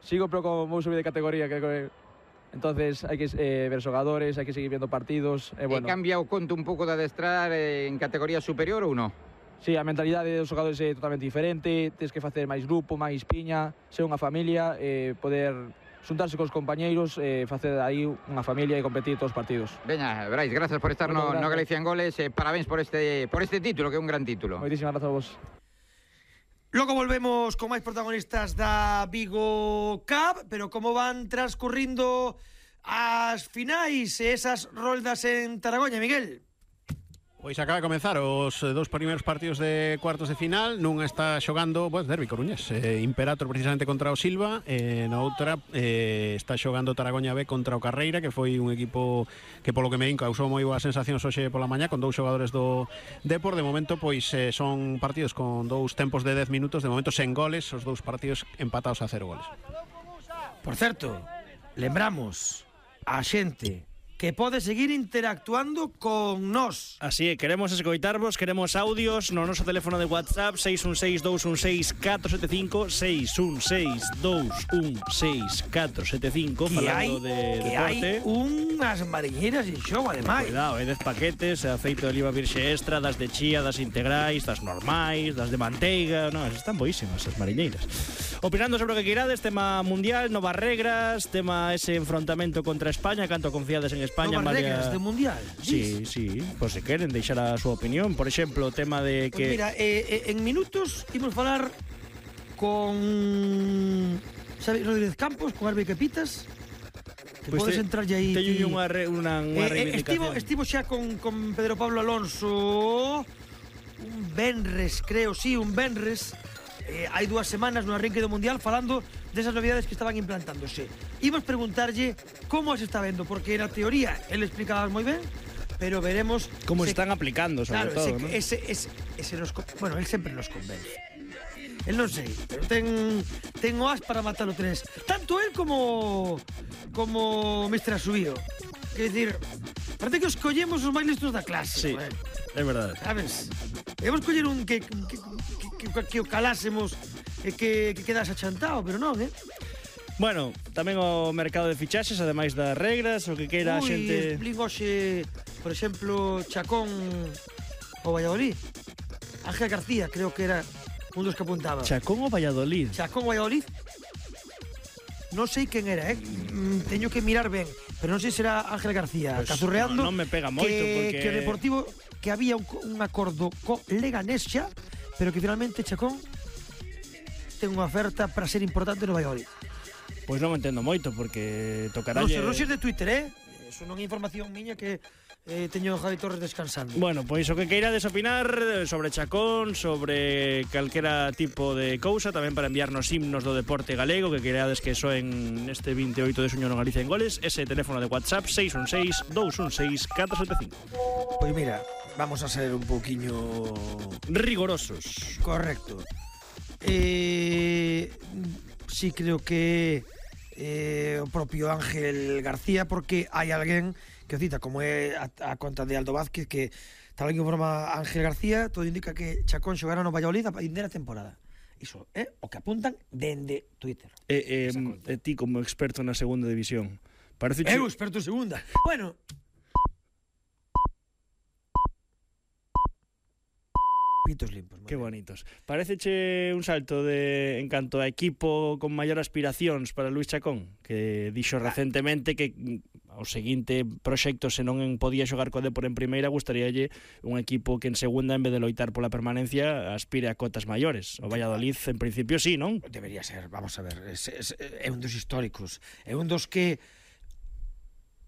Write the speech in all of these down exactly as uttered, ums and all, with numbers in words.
sigo, pero como vou subir de categoría, creo que... Entonces hai que eh, ver xogadores, hai que seguir viendo partidos. Eh, bueno. E cambia o conto un pouco de adestrar eh, en categoría superior ou non? Sí, a mentalidade dos xogadores é totalmente diferente, tens que facer máis grupo, máis piña, ser unha familia, eh, poder xuntarse cos compañeiros, eh, facer aí unha familia e competir todos os partidos. Veña, Brais, gracias por estar no, no Galicia en Goles, eh, parabéns por este, por este título, que é un gran título. Moitísimas grazas a vos. Logo volvemos con máis protagonistas da Vigo Cup, pero como van transcurrindo as finais e esas roldas en Taragoña, Miguel? Pois acaba de comenzar os dous primeiros partidos de cuartos de final. Nunha está xogando, pues, derbi coruñés, eh, Imperator precisamente contra o Silva, e na outra eh, está xogando Taragoña B contra o Carreira, que foi un equipo que polo que me din causou moi boas sensacións hoxe pola mañá, con dous xogadores do Depor. De momento pois eh, son partidos con dous tempos de dez minutos, de momento sen goles, os dous partidos empatados a cero goles. Por certo, lembramos a xente que pode seguir interactuando con nós. Así é, queremos escoitarvos, queremos audios no noso teléfono de WhatsApp seis un seis, dous un seis, catro sete cinco, seis un seis, dous un seis, catro sete cinco, falando de que deporte. Hai unhas mariñeiras en xogo, ademais. Cuidado, hai dez paquetes, aceite de oliva virxe extra, das de chía, das integrais, das normais, das de manteiga, no, están boísimas as mariñeiras. Opinando sobre o que queirades, tema mundial, novas regras, tema ese enfrontamento contra España, canto confiades en España, novas María... regras de mundial. Sí, sí, pues se queren deixar a súa opinión. Por exemplo, o tema de que... Pues mira, eh, eh, en minutos imos falar con Xavi Rodríguez Campos, con Arbe Capitas, que pues podes te, entrarlle aí. Teño unha, re, unha, unha eh, reivindicación. Estivo, estivo xa con, con Pedro Pablo Alonso un venres, creo, sí, un venres. Eh, hai dúas semanas no arranque do Mundial falando desas novidades que estaban implantándose. Imos preguntarlle como as está vendo, porque na teoría ele explicaba moi ben, pero veremos como se, están aplicando, sobre claro, todo, ese, ¿no? ese, ese, ese nos, bueno, él sempre nos convence. El non sei, pero ten ten o as para matar o tres. Tanto él como como mister Asubío. Quer dicir, parece que os collemos os máis listos da clase. Sí, joder. É verdade. Sabes? Debemos coller un que que, que, que, que o calásemos e que, que quedas achantado, pero non, eh? Bueno, tamén o mercado de fichaxes, ademais das regras, o que queira a Ui, xente... explico hoxe, por exemplo, Chacón o Valladolid. Ángel García, creo que era un dos que apuntaba. Chacón o Valladolid? Chacón o Valladolid. Non sei quen era, eh? Mm, teño que mirar ben, pero non sei se era Ángel García, pues cazurreando. Non no me pega moito, que, porque... que o Deportivo, que había un, un acordo co Leganés xa, pero que finalmente Chacón ten unha oferta para ser importante no Valladolid. Pois non entendo moito, porque tocará... Non sei, Roxer de Twitter, eh? Eso non é información miña que eh, teño a Javi Torres descansando. Bueno, pois o que queirades opinar sobre Chacón, sobre calquera tipo de cousa, tamén para enviarnos himnos do deporte galego, que queirades que soen neste veintioito de xuño no Galicia en Goles, ese teléfono de WhatsApp seis un seis, dous un seis, catro sete cinco. Pois mira, vamos a ser un pouquiño rigorosos. Correcto. Eh, sí creo que eh, o propio Ángel García, porque hai alguén que o cita, como é a, a conta de Aldo Vázquez, que tal que informa Ángel García, todo indica que Chacón xogará no Valladolid a primeira temporada. Iso é o que apuntan dende Twitter. E, eh, eh, ti como experto na segunda división, parece Eu experto en segunda. Bueno, pitos limpos. Que bonitos. Pareceche un salto de en canto a equipo con maior aspiracións para Luís Chacón, que dixo ah. recentemente que o seguinte proxecto, se non podía xogar co Depor en primeira, gustaríalle un equipo que en segunda, en vez de loitar pola permanencia, aspire a cotas maiores. O Valladolid, en principio, sí, non? Debería ser, vamos a ver, é, é, é un dos históricos, é un dos que,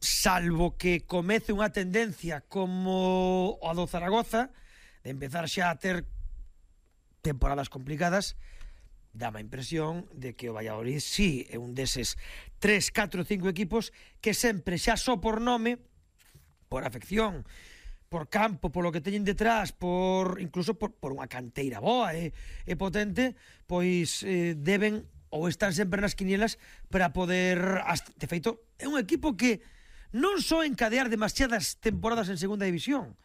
salvo que comece unha tendencia como o do Zaragoza, de empezar xa a ter temporadas complicadas, dá a impresión de que o Valladolid sí é un deses tres, catro, cinco equipos que sempre xa só por nome, por afección, por campo, por lo que teñen detrás, por incluso por, por unha canteira boa e, e potente, pois eh, deben ou están sempre nas quinielas para poder, de feito, é un equipo que non só encadear demasiadas temporadas en segunda división.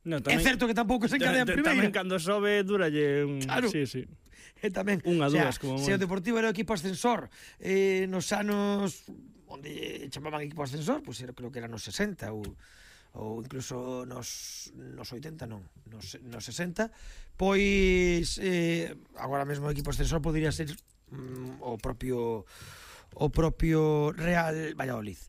No, tamén, é certo que tampouco se encadea en primeira. Tamén cando sobe duralle un... Claro. Sí, sí. E tamén, unha, o sea, dúas, como se o moi. Deportivo era o equipo ascensor eh, nos anos onde chamaban equipo ascensor, pois pues, creo que era nos sesenta ou ou incluso nos, nos oitenta non, nos, nos sesenta, pois eh, agora mesmo o equipo ascensor podría ser mm, o propio o propio Real Valladolid.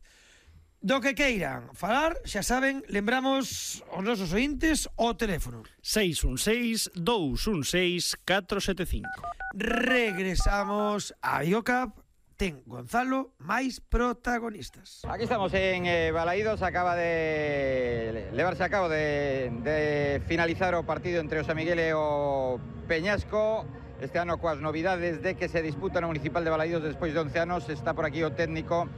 Do que queiran falar, xa saben, lembramos aos nosos ointes o teléfono seis un seis, dous un seis, catro sete cinco. Regresamos a Biocap. Ten Gonzalo máis protagonistas. Aquí estamos en eh, Balaídos, acaba de levarse a cabo de, de finalizar o partido entre o San Miguel e o Peñasco. Este ano coas novidades de que se disputa no Municipal de Balaídos despois de once anos. Está por aquí o técnico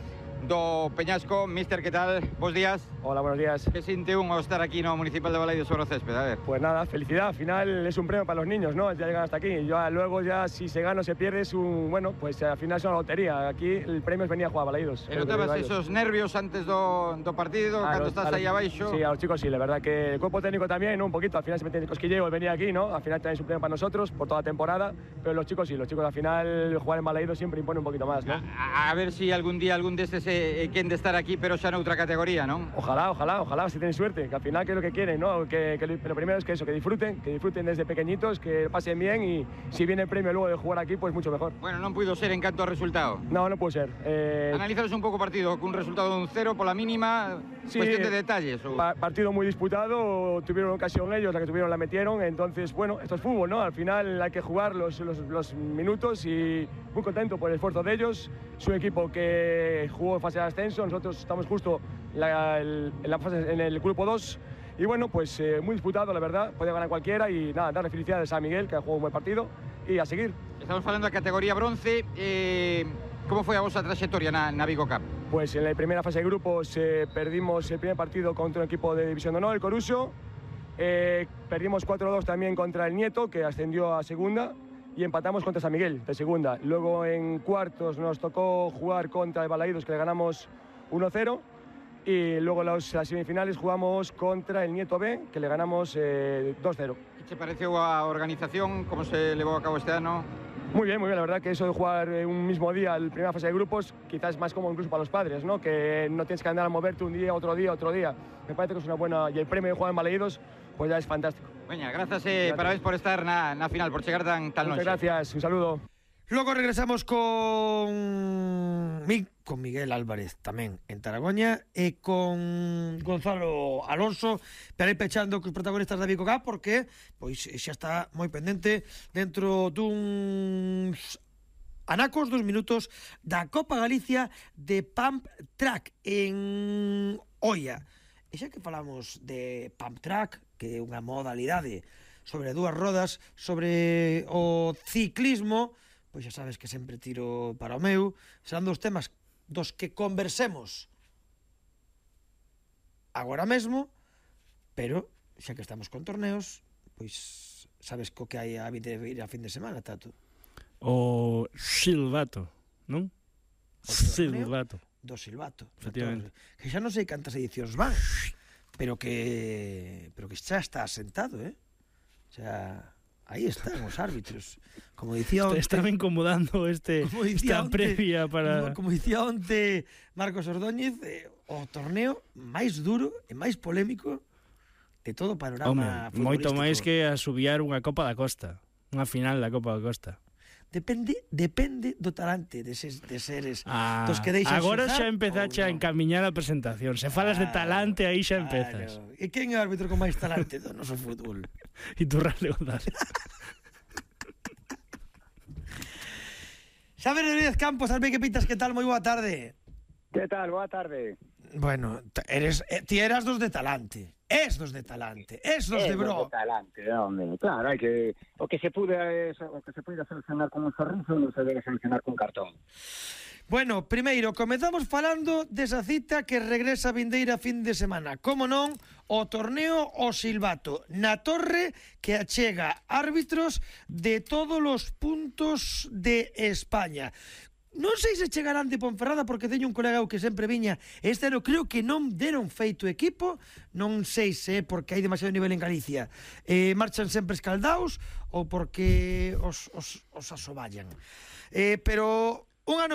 do Peñasco. Mister, que tal? Bos días. Hola, buenos días. Que sinte un ao estar aquí no Municipal de Balaídos sobre o césped? A ver. Pues nada, felicidad. Al final es un premio para los niños, ¿no? Ya llegan hasta aquí. Ya, luego ya si se gana o se pierde es un... Bueno, pues al final es una lotería. Aquí el premio es venir a jugar a Balaídos. E notabas esos nervios antes do, do partido, a cando los, estás a los, aí abaixo? Sí, a los chicos sí, la verdad que el cuerpo técnico también, ¿no? Un poquito. Al final se mete el cosquilleo el venir aquí, ¿no? Al final también es un premio para nosotros por toda la temporada. Pero los chicos sí, los chicos al final jugar en Balaídos siempre impone un poquito más, ¿no? A, a ver si algún día algún destes eh, quen de estar aquí, pero xa noutra categoría, ¿no? Ojalá, ojalá, ojalá, si tienen suerte, que al final que es lo que quieren, ¿no? Que, que lo primero es que eso, que disfruten, que disfruten desde pequeñitos, que pasen bien y si viene el premio luego de jugar aquí, pues mucho mejor. Bueno, non puido ser en canto ao resultado. No, no puede ser. Eh... Analizaros un pouco o partido, cun resultado de un cero pola mínima, sí, cuestión de detalles. O... Pa partido muy disputado, tuvieron ocasión ellos, la que tuvieron la metieron, entonces, bueno, esto es fútbol, ¿no? Al final hay que jugar los, los, los minutos y muy contento por el esfuerzo de ellos. Es un equipo que jugó en fase de ascenso, nosotros estamos justo la, el, en, la fase, en el grupo dos. Y bueno, pues eh, muy disputado, la verdad, puede ganar cualquiera y nada, darle felicidades a Miguel, que ha jugado un buen partido, y a seguir. Estamos falando da categoría bronce, eh, como foi a vosa trayectoria na, na Vigo Cup? Pues en la primera fase de grupos eh, perdimos el primer partido contra un equipo de División de Honor, el Coruso, eh, perdimos cuatro dos también contra el Nieto, que ascendió a segunda, y empatamos contra San Miguel, de segunda. Luego en cuartos nos tocó jugar contra el Balaídos, que le ganamos uno cero. Y luego las, las semifinales jugamos contra el Nieto B, que le ganamos eh, dos cero. ¿Qué te pareció a organización? ¿Cómo se llevó a cabo este año? Muy bien, muy bien. La verdad que eso de jugar un mismo día, la primera fase de grupos, quizás es más cómodo incluso para los padres, ¿no? Que no tienes que andar a moverte un día, otro día, otro día. Me parece que es una buena... Y el premio de jugar en Balaídos, pues ya es fantástico. Veña, gracias, eh, gracias. Parabéns por estar na, na final, por chegar tan, tan Muchas longe. gracias, un saludo. Logo regresamos con con Miguel Álvarez tamén en Taragoña e con Gonzalo Alonso para ir pechando cos protagonistas da Vigo Cup porque pois xa está moi pendente dentro duns anacos, dos minutos da Copa Galicia de Pump Track en Oia. E xa que falamos de Pump Track, que é unha modalidade sobre dúas rodas, sobre o ciclismo, pois xa sabes que sempre tiro para o meu, serán dos temas dos que conversemos agora mesmo, pero xa que estamos con torneos, pois sabes co que hai a vir a fin de semana, Tato? O silbato, non? O silbato. Do silbato. Efectivamente. Que xa non sei cantas edicións van, pero que pero que xa está asentado, eh? O sea, aí están os árbitros. Como dicía onte, estaba incomodando este esta onte, previa para como, como dicía onte Marcos Ordóñez, eh, o torneo máis duro e máis polémico de todo o panorama futbolístico. Moito máis que asubiar unha Copa da Costa, unha final da Copa da Costa. Depende, depende do talante de, ses, de seres ah, dos que deixan agora xozar, xa empezaxe no. a encamiñar a presentación. Se falas claro, de talante, aí xa empezas. Claro. E quen é o árbitro con máis talante do noso fútbol? Iturralde González. Xavier Rodríguez Campos, Albe, que pitas, que tal? Moi boa tarde. Que tal? Boa tarde. Bueno, eres, ti eras dos de talante. Es dos de talante, es dos de bro. Es dos de talante, hombre. Claro, hai que o que se pude o que se puede solucionar con un sorriso non se debe solucionar con cartón. Bueno, primeiro, comezamos falando desa cita que regresa vindeira fin de semana. Como non, o torneo o silbato na Torre, que achega árbitros de todos os puntos de España. non sei se chegarán de Ponferrada porque teño un colega que sempre viña. Este ano creo que non deron feito equipo, non sei se é porque hai demasiado nivel en Galicia. Eh, marchan sempre escaldaos ou porque os, os, os asoballan. Eh, pero un ano